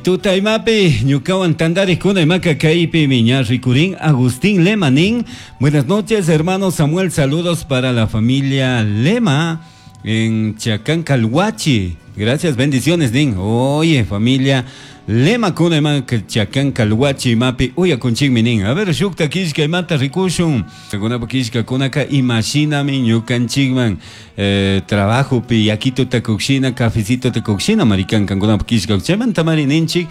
Tuta imapi ñukawan tantarikuna imaka kaypimi ña rikurin Agustín Lema nin. Buenas noches, hermano Samuel, saludos para la familia Lema en Chacán Calhuachi. Gracias, bendiciones nin. Oye, familia Lema kuna imaka Chacán Calhuachi imapi uyakunchikmi nin. A ver, shukta killka imata rikushun. Kunapa killkakunaka imashinami ñukanchikman trabajopi yakituta kukshina, cafecito kukshina marikan kankunapa killka. Chaymanta mari ninchik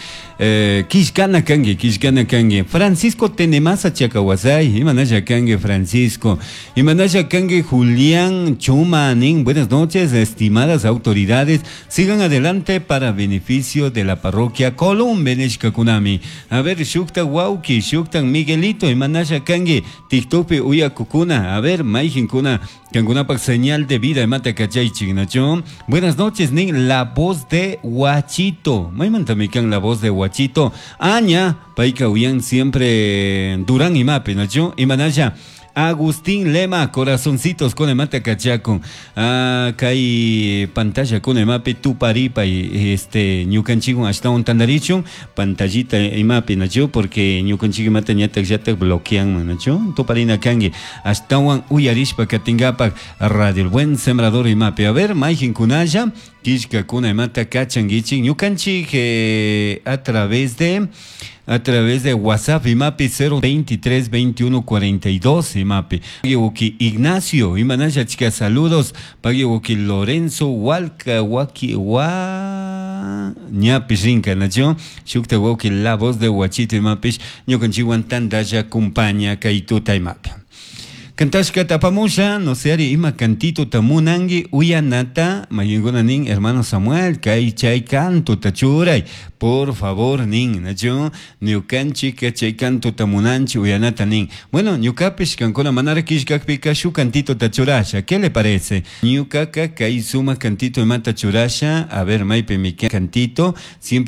killkana kanki, killkana kanki. Francisco Tenemasa Chacawasay, imanalla kanki Francisco. Imanalla kanki Julián Chuma nin. Buenas noches, estimadas autoridades. Sigan adelante para beneficio de la parroquia Columbe nishkakunami. A ver, shukta wauki, shukta Miguelito, imanalla kanki TikTokpi uyakukuna. A ver, mayjinkuna, kankunapak señal de vida imata kachaychik, nacho. Buenas noches, nin, la voz de Huachito. Maymantami kan la voz de Huachito. Aña, payka uyan siempre Durán imapi, nacho. Imanalla Agustín Lema, corazoncitos con imata kachakun. Ah, kay pantalla con imapi tuparipa este ñukanchikwan ashtawan tantarichun pantallita imapi nacho porque ñukanchik imata ñatak llatak bloqueanman nacho tuparina kanki ashtawan uyarishpa katinkapak Radio El Buen Sembrador imapi. A ver, mayjinkunalla killkakuna imata kachankichik ñukanchik a través de WhatsApp imapi 023 21 42 imapi. Pagui Ignacio, imanalla chica, saludos. Pagui Lorenzo Walka Waki wa ñapish rinka nacho. Shukta wauki la voz de Huachito imapish ñukanchikwan tantalla compaña kay tuta imapi. Kantashka tapamusha, no sé, ari ima cantito tamunangi uyanata, mayinguna nin, hermano Samuel, kay chay canto tachuray, por favor nin, nacho, ñukanchik chay canto tamunanchi uyanata nin. Bueno, ñukapish kankuna manara killkakpika shu cantito tachurasha, ¿qué le parece? Ñukaka kay suma cantito imata churasha, a ver, maypi mi cantito, siempre.